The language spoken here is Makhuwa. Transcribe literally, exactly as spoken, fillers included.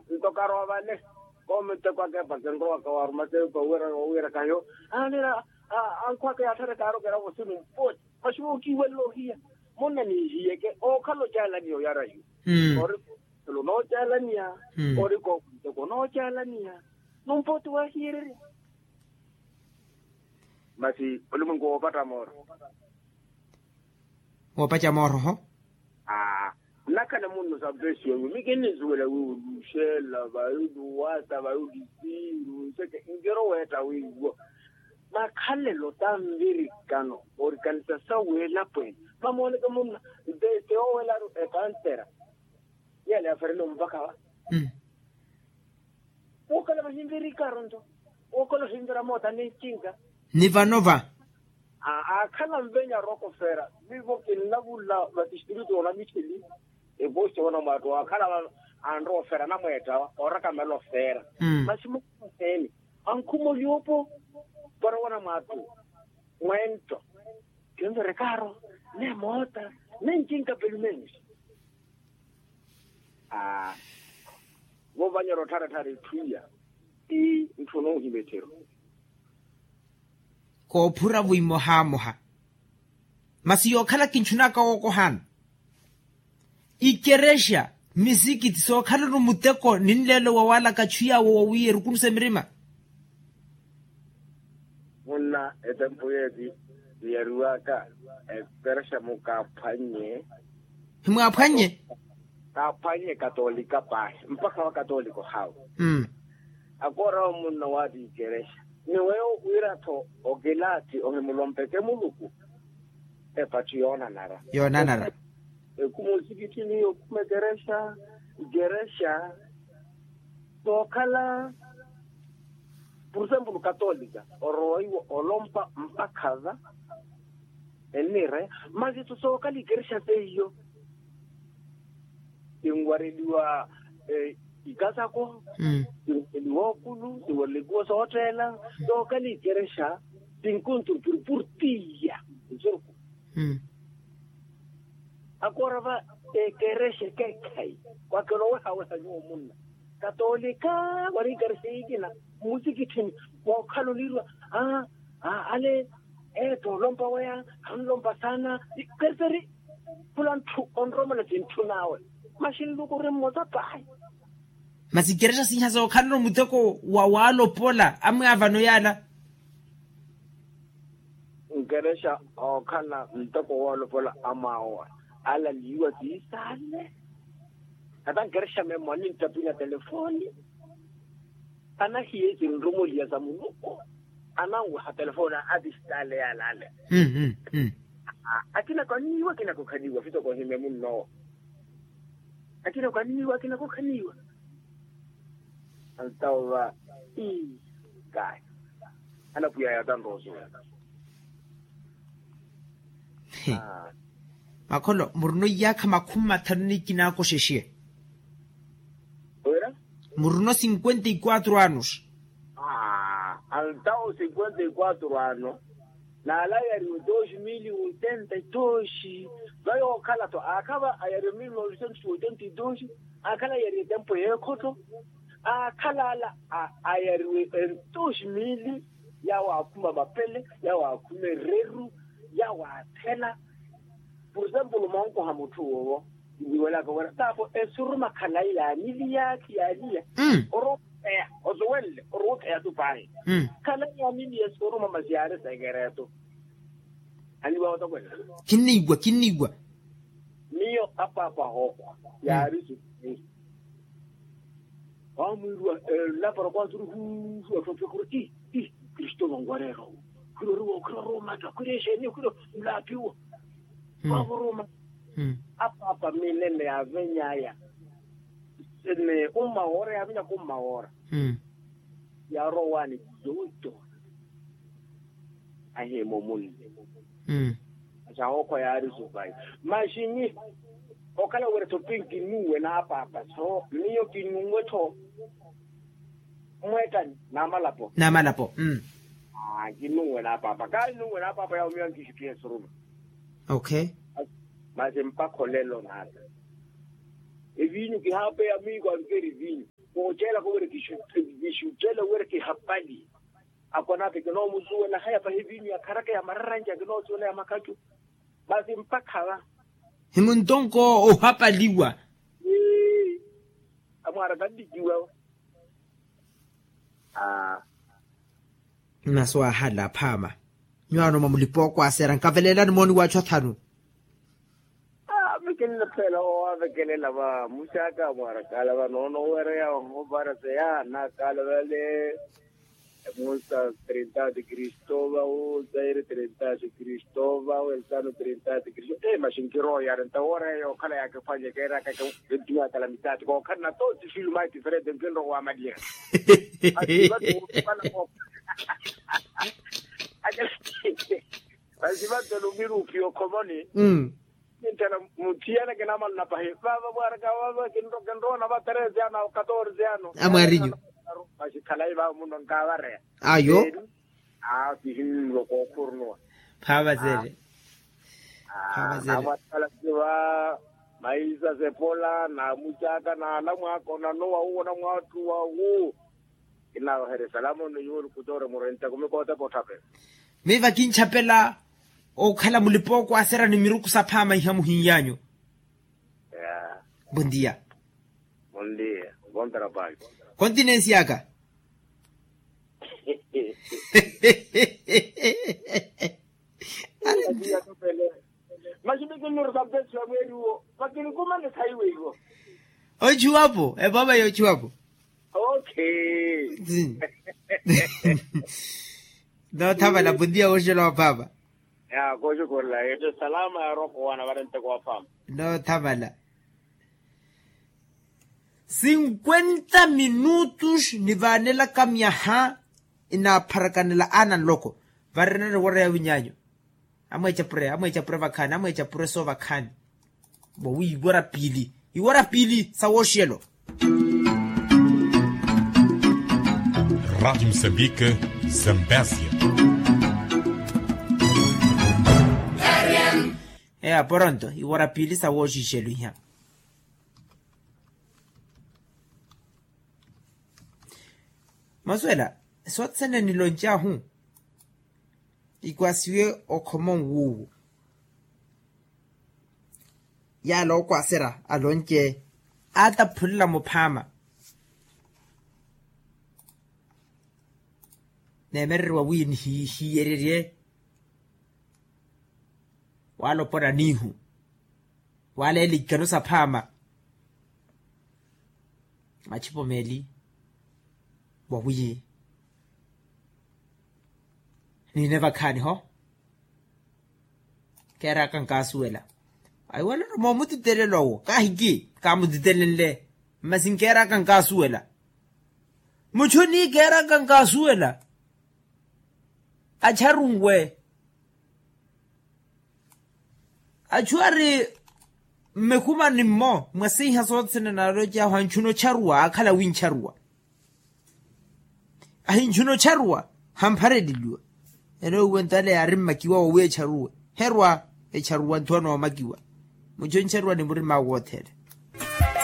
Nto karowa vale. Koomi nteko akeepa kinrowaka waaruma teepa wira wira kahiyo. Aanira ankhwaka yaatthareka aarokerya vosini mpooti. Masi wookiiwelela ohiya. Munna ninhiyeke ookhala ocaalaniya oyara hiyo. Ori kookhala onoocaalaniya. Ori koomi nteko onoocaalaniya. Numpooti waahiyererya. Masi olimwenku woopatta mooro. Woopaca mooroho. Aa. Nnakhala munno sampesiwa wiiwo mi kinninsuwela wiiwo luxela vayu luwata vayu lisiiru nseke nkiro weetta wiiwo. Makhalelo tanvirikano orikanisa sa weelapweene mamooneke munna. Nte yoowelaru epantera. Yale yaferele omvaka va. Wookhala vahinvira ikaaru nto. Wookhala ohinvira moota ni ncinka. Ni vano va. Aakhala nvenya arokofera vivo kinnavula vatistritu onamicheli. Evosi onamwaattu aakhala anrowa ofera anamweetta orakamela ofera. Masi mukhumaseeni ankhumolyopo. Para wanamwaattu mwento. Kinverekaaro ne moota ne ncinka pelumensi. Aa. Vovanyera ottharatthara etthu iya. Ii ntthu onoohima ettheru. Koophura vo imohamoha. Masi yookhala kintthunaka wookohana. Ikerexa misikiti sookhalano muteko ni nleelo wa waalaka achu yaawo wawiiya erukunusa emirima. Munna etempu yeeti tiyariwaka ekerexa mukaaphwannye. Himwaaphwannye. Kaaphwannye katolika paahi mpakha wa katolika ohaawe. Akoorawo munna waati ikerexa ni weyo wira-tho okilaathi ohimulompeke muluku. Epatthu yoonanara. Yoonanara. Ekuma osikitthini yookuma ekerexa. Ekerexa sookhala purusempulu katolika orowa iwo olompa mpakha va. Ennire masi-tho sookhala ikerexa seiyo. Tinwareliwa ikasako. Tinwareliwa okulu tinwareliwa ikuwo sootteela. Sookhala ikerexa tinkuntru purupuru tiya. Nsurku. Akoora va ekerexa ekeekhayi. Kwakela owehaweha nyuwo munna katolika wari ikerexa yiikina mmusikitthini. Wookhala oniirwa ale eetto olompa weya anlompa saana. Kerseri khula ntthu onromela tintthun'awe. Masi nluku ori mmosa paahi. Masi kerexa sinhasa okhalano muteko wa waalopola amwaavano yaala. Nkerexa ookhala ntoko woolopola amwaawo alaliiwa tiisaale. Ata nkerexa memmo aninttapinya telefooni. Anahiye sinrumoliya sa muluku. Ananweha telefooni atistaale yaalale. Akinako anniiwa akinako khaniiwa fitoko ohime munnowo. Akinako anniiwa akinako khaniiwa. Antawo va ii kahi. Anapwiya yatanrowa osuwela. Makholo murino iyaakha makhumi mathanu ni ikinaako xexiye. Murino cinquenta y quatro anos. Antawo cinquenta y quatro ano. Naala ayariwe dos mil oitenta y dos. Vayookhala-tho aakhava ayariwe mil novecentos oitenta y dos. Aakhala ayariwe etempo yeekhotto. Aakhala ala ayariwe en dos mil. Yaawo aakhuma mapele yaawo aakhuma ereru. Yaawo aathela. Purusempulu monkoha mutthu woowo. Nniwelaka wira taapo esuruma khalayi yaaniliyaakhi yaaliya. Orowa otheya osuwenle orowa otheya tu paahi. Khalayi yaaniliya esuruma masi yaari sekereto. Aniwa otokwela. Kinniiwa kinniiwa. Miyo apaapa ahookhwa yaari suku. Waamwiiriwa elapara kwaaturu huuhu atthu athuwa khuri ii ii kristu vanwareera owo. Khuri oriwa owo khuri oruumatta khuri exeeni khuri nlaapiwa. Vaavoruma apaapa minene yaaveny'aya. Ni umma woora yaavenyaka umma woora. Yaarowa owaani yooto. Ahiima omunne. Masi ahookhwa yaari supayi. Masi nyi okhala wira-tho pinki nuuwe n'apaapa so miyo kinuuwe-tho. Mweettani n'amalapo n'amalapo. Kinuuwe n'apaapa kaali nuuwe n'apaapa yaawo miyo ankixittiha esuruma. Okay. Masi mpakha olelo n'ata eviinyu kihaapeya miiko ankeri viinyu. Oceelaka wira kixuttele wira kihapali. Akonaape kinoomusuwela haya pahi vinyu ya kharaka ya mararanja kinoosuwela ya makhacu. Masi mpakha va himuntonko ohapaliwa. Amwaara kannikiwa. Aa. Masi wahala phaama. Nyuwaano mwa mulipa okwasera nkaveleelani mooni waachu athanu. Aa mikinniphela owavekelela va muxaka mwarakala va noono owereya ohovarase ya naakala vale. Musa trinta de kristo va o zaire trinta de kristo va o elzano trinta de kristo e maxinkiroyari nta owereya yookhala yakiphwanye keeraka. Ntiwakala mitati kookhalana to tifiluma tifere de nkinrowa malira. Masi vattelo mirupi okhomoni. Nttela muthiyana kinamalana pahi vava vwaraka vava kinroona va treze ano katorze ano. Amwarinyu. Masi khalayi vava muno nkavareya. Ayo. Aa kihinnulwa kookhurnuwa. Phaavazele. Phaavazele. Maisa sepola na mucaka na ala mwaka onanowa uwo na mwattu wa wu. Kinaaweherya salamo ni yuwo nikutoora murenta kumikootepa otthapela. Miva kinchapela okhala mulipa okwasera ni miruku saphaama iha muhinyanyu. Bondia. Bondia. Bondia. Kontinensi yaka. Masi mikinnurusa mpesi wa mweri uwo. Vakinikumanisa iwe iwo. Ochuwapo epova yochuwapo. Okay. Noothavala puntiya woxela wa papa. Ya koxukulla ete salama ya roko wana varenteko wa papa. Noothavala. Sinkwenta minutus nivaanelaka myaha inapharakanela aana nloko. Varenani wora ya winyanyu. Amweecapure amweecapure vakhaani amweecapure soo vakhaani. Bo wi iwora piili iwora piili sa wooxiyelo. Radiyo musambike. Zambezia. Eya poronto iwora piili sa wooxixelo iha. Masuwela sothene niloncahu. Ikwasiwe okhoma nwuuwo. Yaala okwasera alonce aataphulela muphaama. Neemereriwa wi nihihiyererye waalopona niihu. Waaleela ikano saphaama. Machipo meeli wawiyi. Niine vakhaani ho. Keeraka nkaasuwela. Aiwalero moomutitelela owo kaahiki kaamutitelenle. Masi nkeeraka nkaasuwela. Muchu ni keeraka nkaasuwela. Acharunwe. Achu ari mmekuma ni mmo mwasiiha sothene naalocahu anchuna ocharuwa akhala wincharuwa. Ahinchuna ocharuwa hamphareleliwa. Ene uwe ntale yaari mmakiwa wawi echaruwe herwa. Echaruwa nthu anoomakiwa. Muchu oncharuwa ni murima wothene.